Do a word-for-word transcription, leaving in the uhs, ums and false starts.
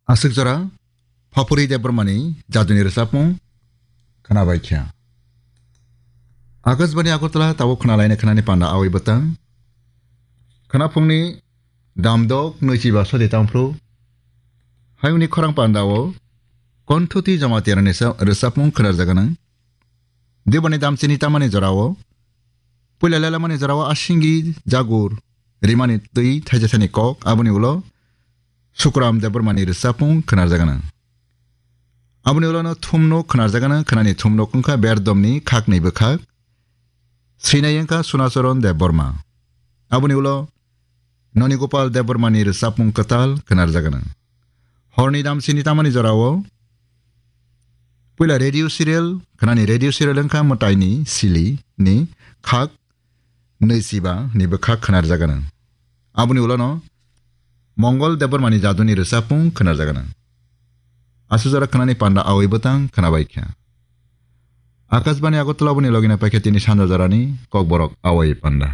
Aswk jora Phapuri Debbarmani jaduni rwchapmung khwnabaikha. Akashbani Agartala tabuk khwnalaina khwnani panda awi bwtang. Khwnaphungni damdok nwichiba sodi tangphru. Hayungni khorang pandao Konthuti Jamatiarani sa-, rwchapmung khwnarjaganang. Deboni damchini tamani jorao, puila lelamani jorao Asingi Jagur rimani twi thaijasani kok, aboni ulo Sukram Debbarmani rwchapmung khwnarjaganang. Aboni ulono thumnok khwnarjaganang, khwnani thumnok wngkha Berdomni khakni bwkhak, swinai wngkha Sunacharan Debbarma. Aboni ulo Noni Gopal Debbarmani rwchapmung kwtal khwnarjaganang. Horni damchini tamani jorao puila radio serial, khwnani radio serial wngkha Mwtaini Sili ni khak nwichiba ni bwkhak khwnarjaganang. Aboni ulono Mongol Debbarmani jaduni rwchapmung khwnarjaganang. Aswk jora khwnani panda awi bwtang khwnabaikha. Akashbani Agartala boni logina paikha tini sanja jorani Kokborok awi panda.